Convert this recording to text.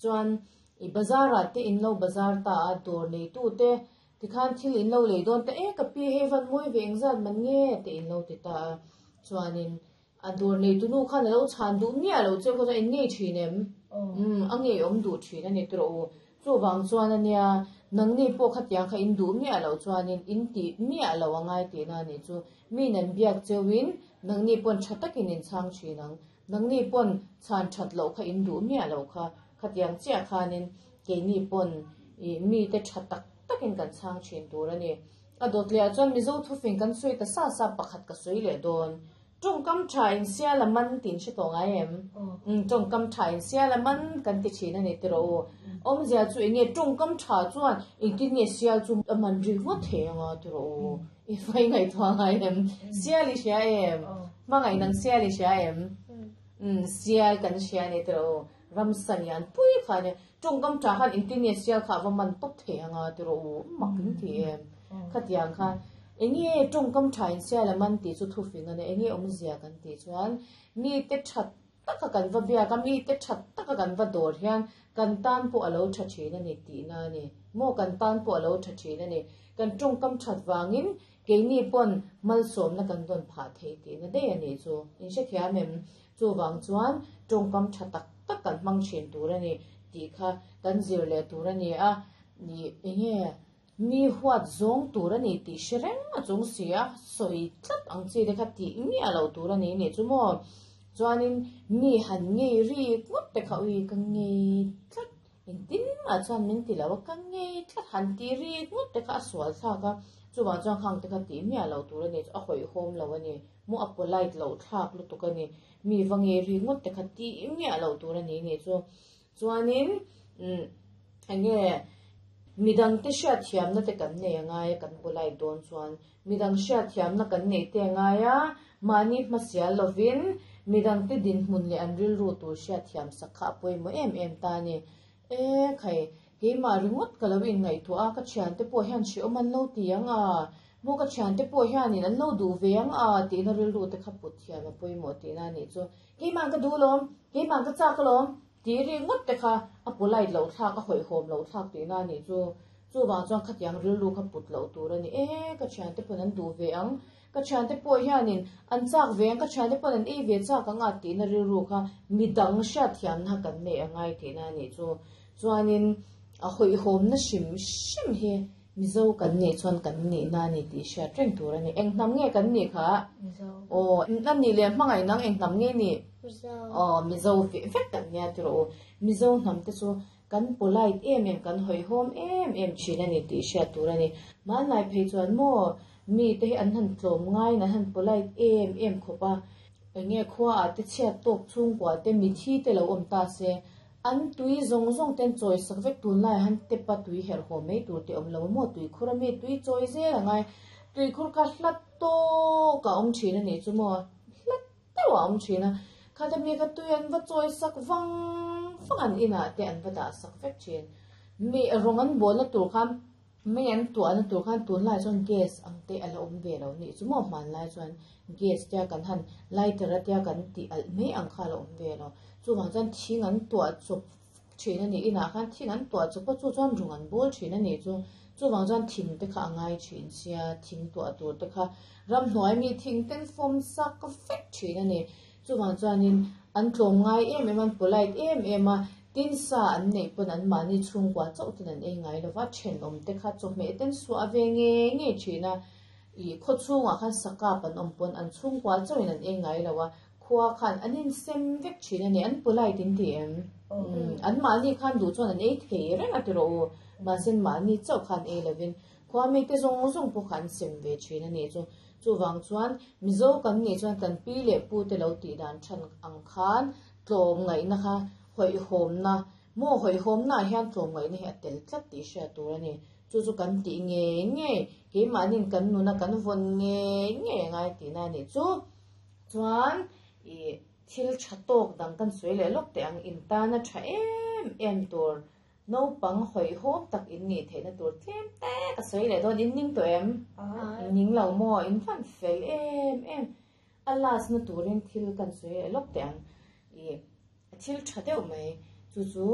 Chuan i bazar ah te in lo bazar ta a, dawr neitu te tikhan thil in lo lei dawn ta e ka pi hei van mawi ve engzat man nge te in lo ti ta a. Chuanin a dawr neitu nu khan a lo chhan duh miah lo che khaw chuan in ngei thin em? Umm a ngeiawm duh thin a ni tawh u. Chuvang chuan a nia, nangni pawh khatiang kha in duh miah loh chuanin in tih miah lo a ngai tihna a nih chu. Mi nan biak cheuhin nangni pawn tha takin in chhang thin ang. Nangni pawn chhan that loh kha in duh miah loh kha. Khatiang chiah khanin keini pawn ih mite tha tak takin kan chhang thin tur a ni. A dawt lehah chuan Mizo thufing kan sawi ta sa sa pakhat ka sawi leh dawn. Tawngkam tha in sial a man tih in hre tawh ngai em? Umm tawngkam tha in sial a man kan ti thin a ni tiraw u. Awmzia chu eng nge tawngkam tha chuan engtin nge sial chu a man rik ngawt thei anga tiraw u. I fai ngaihtuah ngai em? Sial i hria em? Hmangaih nang sial i hria em? Umm sial kan hria a ni tiraw u. Ramsa lian pui kha a nia. Tawngkam tha khan engtin nge sial kha a va man tawp thei anga tiraw u. Mak in ti em? Khatiang khan Enge tawngkam tha in sial a man tih chu thufing a nia, enge awmzia kan tih chuan mite tha taka kan va biak a, mite tha taka kan va dawr hian kan tan pawh a lo tha thin a ni tihna a ni. Maw kan tan pawh a lo tha thin a ni. Kan tawngkam that vangin keini pawn malsawmna kan dawn phah thei tihna daih a nih chu. In hrethiam em? Chuvang chuan tawngkam tha tak tak kan hmang thin tur a ni tih kha kan zir leh tur a ni a, enge Mi huat zawng tur a ni tih hre reng a chung si a, sawi tlat ang chi te kha tih miah loh tur a ni nih chu maw? Chuanin mi han ngei rik ngawt te kha ui ka ngei tlat, engtin mah chuan min ti lo a, ka ngei tlat han tih rik ngawt te kha a sual thlak a, chuvang chuan khang te kha tih miah loh tur a ni chu a hawihhawm lo a ni, maw a polite loh thlak lutuk a ni, mi va ngei rik ngawt te kha tih miah loh tur a ni nih chu. Chuanin umm enge midangte hriatthiamna te kan nei a ngai a, kan polite dawn chuan midang hriatthiamna kan neih te a ngai a, mahni hmasial lovin midangte dinhmun leh an rilru tur hriatthiam sak kha a pawimawh em em ta a ni. E khai, keimah ringawt ka lo inngaihtuah a, ka thiante pawh hian hrehawm an lo ti ang a, maw ka thiante pawh hianin an lo duh ve ang a tihna rilru te kha put thiam a pawimawh tihna a nih chu. Keimah ka duh alawm, keimah ka chak alawm tih ri ngawt te kha a polite loh thlak, a hawihhawm loh thlak tihna a nih chu. Chuvang chuan khatiang rilru kha put loh tur a ni. E, ka thiante pawn an duh ve ang, ka thiante pawh hianin an chak ve ang, ka thiante pawn an ei ve chak ang a tihna rilru kha midang hriatthiamna kan neih a ngai tihna a nih chu. Chuanin a hawihhawmna hrim hrim hi Mizo kan nih chuan kan nihna a ni tih hriat reng tur a ni. Eng hnam nge kan nih kha? Mizo. Aw, a nih leh hmangaih nang eng hnam nge nih? Mizo. Aw, Mizo veh vek kan nia tiraw u. Mizo hnam te chu kan polite em em, kan hawihhawm em em thin a ni tih hriat tur a ni. Hmanlai phei chuan maw mi te hi an han tlawm ngaiin an han polite em em khawp a. Eng nge khua ah te chhiat tawk chhungkua te mithi te lo awm ta se An tui zawng zawng ten chawi sak vek tunlai ah han tep a tui herh haw mai tur te awm lo a maw tuikhur a mi tui chawi zel a ngai tuikhur kha hlat tawk a awm thin a nih chu maw hlat deuh a awm thin a khata mi kha tui an va chawi sak vang vang an inah te an va dah sak vek thin mi rawng an bawlna tur khan Mei an tuahna tur khan tunlai chuan gas ang te a la awm ve lo nih chu maw hmanlai chuan gas tia kan han lighter a tia kan tih alh mai ang kha a la awm ve lo. Chuvang chuan thing an tuah chawp thin a nih inah khan thing an tuah chawp a chu chuan rung an bawl thin a nih chu. Chuvang chuan thing te kha a ngai thin sia thing tuah tur te kha ramhnuai mi thing ten fawm sak vek thin a ni. Chuvang chuanin an tlawm ngai em em a, an polite em em a, tin sa an neih pawn an mahni chhungkua chauh ten an ei ngai lo va, thenawm te kha chawhmeh ten suah ve ngei ngei thin a, ih khaw chhungah khan sakap an awm pawn an chhungkua chauhin an ei ngai lo a, khua khan an insem vek thin a ni, an polite in ti em? Umm an mahni khan duh chuan an ei thei reng a tiraw u, mahse mahni chauh khan ei lovin khua mite zawng zawng pawh kha an sem ve thin a nih chu. Chuvang chuan Mizo kan nih chuan kan pi leh pu te lo tih dan than ang khan tlawm ngaihna kha hawihhawmna maw hawihhawmna ah hian tlawm ngaihna hi a tel tlat tih hriat tur a ni. Chu chu kan tih ngei ngei keimahniin kan nuna kan vawn ngei ngei a ngai tihna a nih chu. Chuan ih thil tha tawk dang kan sawi leh lawk teh ang intana tha em em tur Naupang hawihhawm tak in nih theihna tur tlem te ka sawi leh dawn, in ning tawh em? In ning lo maw? In fan fel em em. A last na turin thil kan sawi leh lawk teh ang. Ih, thil tha deuh mai chu chu.